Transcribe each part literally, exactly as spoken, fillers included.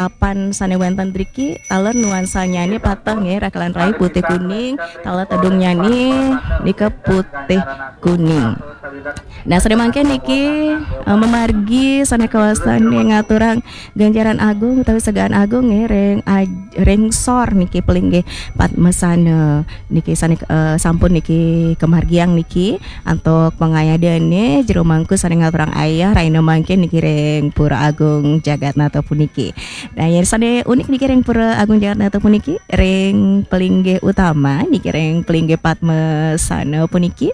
papan sane wenten driki, taler nuansanyane pateh nggih, rakalan rai putih kuning, taler tedungnyané nika putih kuning. Nah, sane mangkin niki, eh, mamargi sane kawastane ngaturang ganjaran agung utawi segaan agung nggih ring aj-, ring sor niki pelinggih Padmasana niki sane, eh, sampun niki kamargiang niki antuk pangayadane jero mangku sane ngaturang ayah raina mangkin niki ring Pura Agung Jagatnata puniki. Nah, yen sane unik niki ring Pura Agung Jagatnata puniki, ring pelinggih utama niki ring pelinggih Padmasana puniki.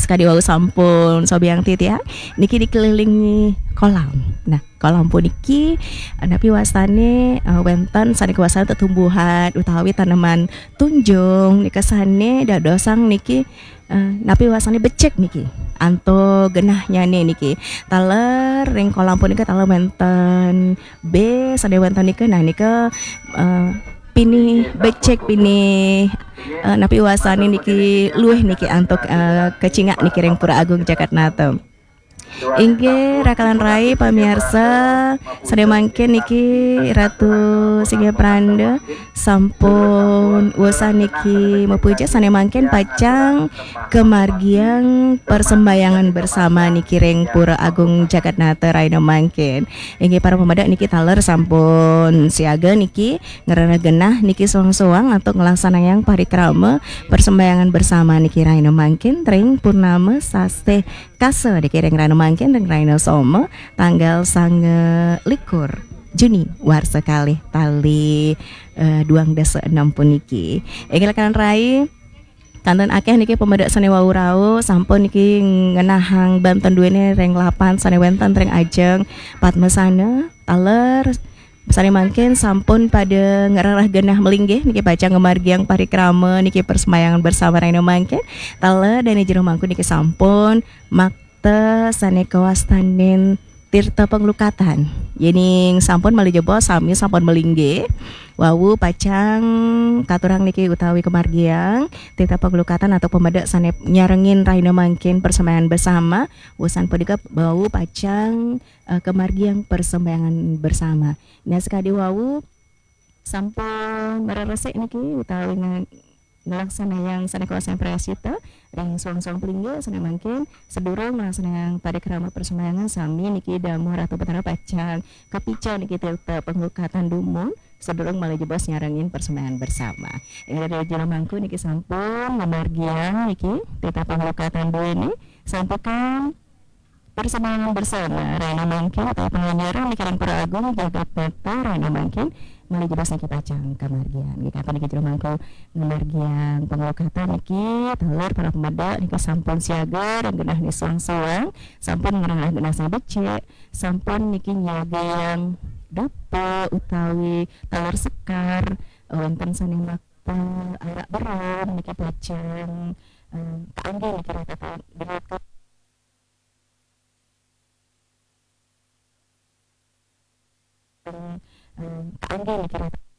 Sakadi wau sampun sobiang titiang niki dikelilingi kolam. Nah, kolam puniki, eh, napi wastane, eh, wenten sane kawastane tetumbuhan utawi taneman tunjung nika sane dadosang niki, eh, napi wastane becik niki. Antuk genahnyane niki. Taler ring kolam punika taler wenten be sane wenten nika. Nah, nika, eh, pinih becik, pinih, eh, napi wastane niki luih niki antuk, eh, kacingak niki ring Pura Agung Jagatnata. Inggih, rakalan rai pamiarsa, sane mangkin niki Ratu Singgih Pranda sampun wasa niki mapuja, sane mangkin pacang kamargiang persembayangan bersama niki ring Pura Agung Jagatnata raina mangkin. Inggih, para pamedek niki taler sampun siaga niki ngrereh genah niki soang-soang antuk nglaksanayang parikrama persembayangan bersama niki raina mangkin ring purnama sasih Kasa niki ring raina mangkin ring raina Soma tanggal sanga likur Juni warsa kalih tali, eh, duang dasa enam puniki. Inggih, rakalan rai, kanten akeh niki pamedek sane wau rauh sampun niki ngenahang banten duene ring lapan sane wenten ring ajeng Padmasana taler sane mangkin sampun pada ngrereh genah malinggih niki pacang ngamargiang parikrama niki persembayangan bersama raina mangkin. Taler dane jero mangku niki sampun makta sane kawastanin tirta panglukatan. Yening sampun malih jebos sami sampun malinggih, wau pacang katurang niki utawi kamargiang tirta panglukatan antuk pamedek sane nyarengin raina mangkin persembayangan bersama. Wusan punika wau pacang, eh, kamargiang persembayangan bersama. Nah, sakadi wau sampun mareresik niki utawi nge-, nglaksanayang sane kawastane prayascita ring soang-soang pelinggih sane mangkin sadurung nglaksanayang parikrama persembayangan sami niki damuh Ratu Betara pacang kapica niki tirta panglukatan dumun sadurung malih jebos nyarengin persembayangan bersama. Inggih, ring jero mangku niki sampun ngamargiang niki tirta panglukatan duene santukan persembayangan bersama raina mangkin utawi panganjaran niki ring Pura Agung Jagatnata raina mangkin malih jebos niki pacang kamargiang. Nggih, katon niki jero mangku ngamargiang panglukatan niki taler para pamedek niki sampun siaga ring genah niki soang-soang, sampun ngrereh genah sane becik, sampun niki nyagayang dapuk utawi taler sekar, wenten sane makta arak berum niki pacang, eh, kaanggé niki rata-rata. Em, kaanggé niki rata-,